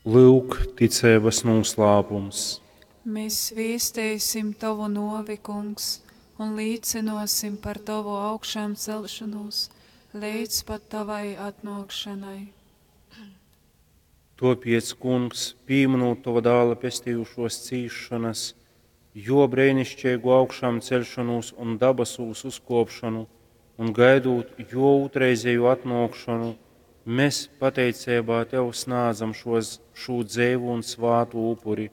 Lyuk, ticeibas nūslāpums. Mēs viesteisim Tovu novi, Kungs, un līcinosim par Tovu augšām celšanos līdz pat Tavai atnākšanai. Tāpēc, Kungs, pieminot Tava dēla pestījušos cīšanas, jo brēnišķīgu augšām celšanos un dabasūs uzkopšanu, un gaidot jo otrreizēju atnākšanu, mēs pateicībā Tev snādzam šos, šo dzeivu un svātu upuri.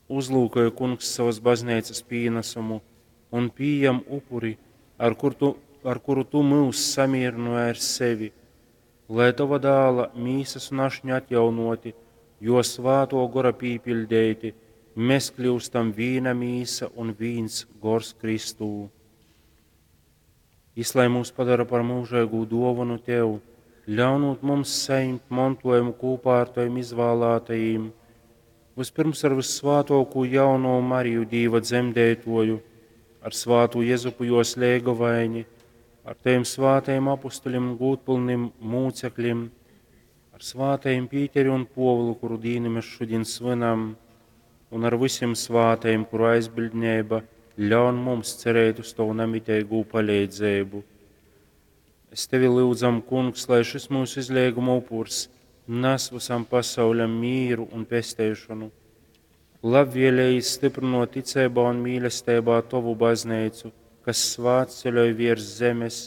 Uzlūkoja Kungs savas baznīcas pienesumu un pieņem upuri, ar, kur tu, ar kuru Tu mūs samierināji ar sevi, lai Tava dēla mīsas un ašņa atjaunoti, jo svāto gora pīpildēti, mēs kļūstam vīna mīsa un vīns gors Kristū. Jis, lai mūs padara par mūžīgu dāvanu Tev, ļaunot mums saņemt mantojumu kopā ar Taviem izvēlētajiem, vispirms ar vissvātāko jauno Mariju Dīva dzemdētoju, ar svātu Jezupu jos lēgavaini, ar Taviem svātajiem apustuļiem un gūtpilnim mūcekļiem, ar svātajiem Pīteri un Povulu, kuru dīnu mēs šodien svinam, un ar visiem svātajiem, kuru aizbildnība ļaun mums cerēt uz Tavu nemitīgu palīdzību. Es tevi lūdzam, Kungs, lai šis mūsu izlieguma upurs nes visam pasauļam mīru un pesteišanu. Labvēlīgi stiprinot ticībā un mīlestībā Tavu baznīcu, kas svētceļoj virs zemes,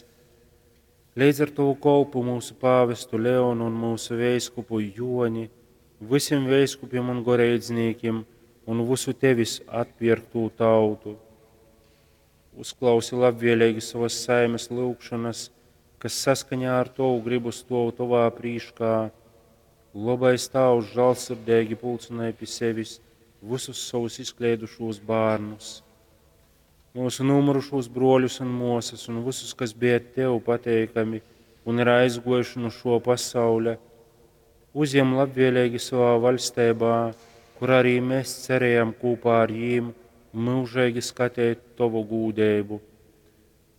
līdz ar Tavu kolpu mūsu pāvestu Leonu un mūsu veiskupu Joni, visiem veiskupiem un goreidznīkiem un visu Tevis atpirktu tautu. Uzklausi labvēlīgi savas saimes lūgšanas, kas saskaņā ar Tavu gribu stov Tavā prīškā. Labais Tēvs žēlsirdīgi pulcināja pie sevis visus savus izkleidušos bērnus, mūsu nomurušos broļus un mosas un visus, kas bija Tev pateikami un ir aizgojuši no šo pasauļa, uzņem labvēlīgi savā valstībā, kur arī mēs cerējam kopā ar jīm mūžīgi skatīt Tavu gūdību.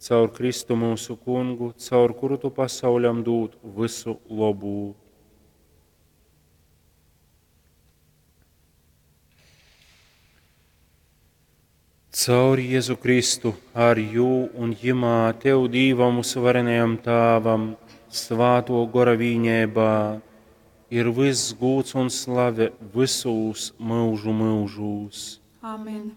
Caur Kristu mūsu kungu, caur kuru Tu pasauļam dod visu labu. Caur Jēzu Kristu, ar jū un jimā Tev Dīvam mūsu varenajam Tāvam, svāto gora vīņēbā, ir viss gūts un slave visūs mūžu mūžūs. Amen.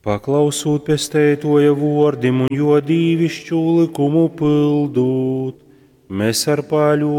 Paklausūt pesteitoja vordim un jo dīvišķu likumu pildūt, mēs ar pāļu